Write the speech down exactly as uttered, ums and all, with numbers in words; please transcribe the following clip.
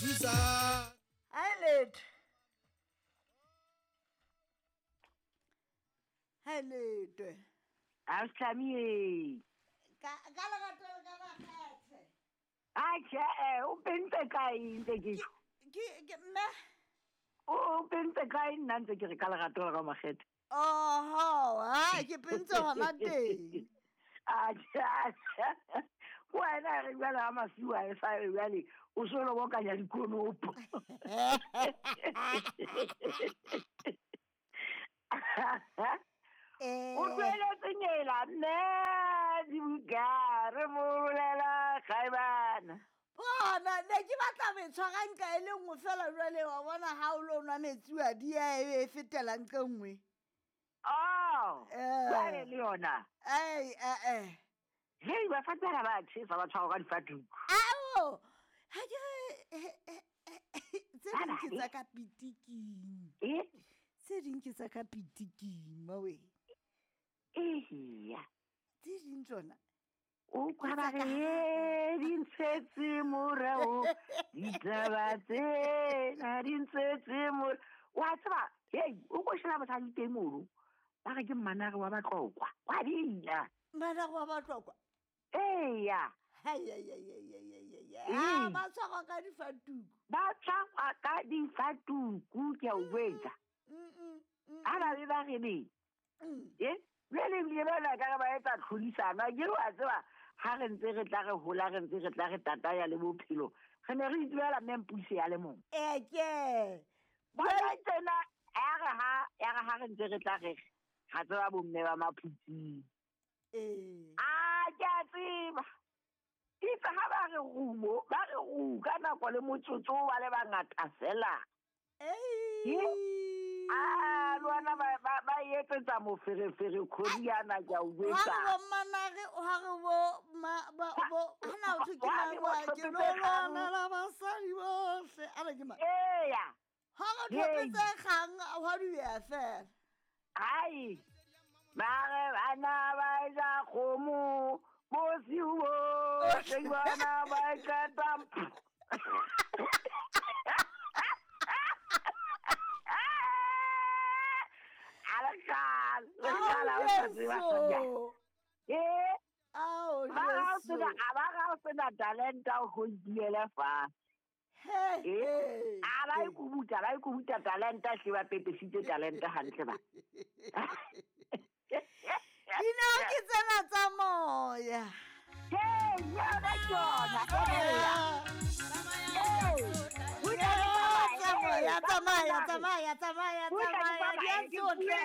Thusa. Hi letho. Hi letho. A tlhamie. Ka ka lerato le ka makgethe. A tjhe, eh, o pentse kae ntse ke Ke ke mme. O pentse kae nna ntse ke re ka lerato le ka makgethe. Oho, ha ke pentse hona teng. A tjhe, a tjhe. Wena re jwale ha masiu a e sa jwale o so lo bokanya dikonopo. Eh. O tlohelletse nyela mme dibuka re bolela kgaebana. Bona ne ke batla ho e tshwara nka e le nngwe fela jwale wa bona ha o lo nwa metsi wa di ya e be e fetela nqa e nngwe. Oh, Eh. jwale le yona. Ai, eh, eh. Hei, basadi bana ba tjhesa ba tshwarwa ka difatuku. Ao, ha ke re, eh, eh, eh, tse Ba ding ke babe. tsa ka pitiking. Eh? Tse ding ke tsa ka pitiking, mawe. Eya. Tse ding tsona. O kwa ba re, "Ee, di ntshetse morao, ditaba tsena di ntshetse morao." Wa tseba, hei, o ko sheba mosadi teng mono. Ba re ke mmanare wa Batlokwa. Wa bina. Mmanare wa Batlokwa? Eya. Hai, ai, ai, ai, ai, ai, ai, ai. Ee. Ah, ba tshwarwa ka difatuku. Ba tshwarwa ka difatuku, ke a o jwetsa. Mm, mm, mm, Ha ba be ba re be. Mm. Eh? Jwale ebile ba na ka re ba etsa tlhodisano. Akere wa tseba, ha re ntse re tla re hola, re ntse re tla re tataya le bophelo, re ne re itsebela mme Mpuse ya le mong. Eh, ke. Bona tsena, ya re ha, ya re ha re ntse re tla re, ra tseba bomme ba Maphutsing. Eh. Ah, ke a tseba. Itse ha ba re rumo, ba re ru ka nako le motsotso ba le bangata fela. Ei. Ah, le wena ba, ba, ba etsetsa moferefere kgodiana, ke a o jwetsa. Ha re bo mmanare, ha re bo ma, ba, bo, ha na ho thwe ke Ha re mang bo wa, ke tlhophetse lo lwana kgang. la basadi bohle. A re ke mang? Eya. Ha re tlhophetse Hei. kgang, hwa duya fela. Hai. Ba re bana ba ja kgomo, bosiu bohle bana ba qeta. A le kgale, le kgale ha o sa tseba Ao, kganya. Jesu. Eh? Ao, Ba ga o Jesu. sena, a ba ga o sena talenta o go itiele fa. He, Eh? he, A ba he. ikubuta, ba ikubuta talenta hle ba pepesitse talenta hantle ba. Dinao ke tsena tsa moya. Hey, yona ke yona. Eya. Hey. Tsamaya, tsamaya, tsamaya, tsamaya, tsamaya, di a tsotle.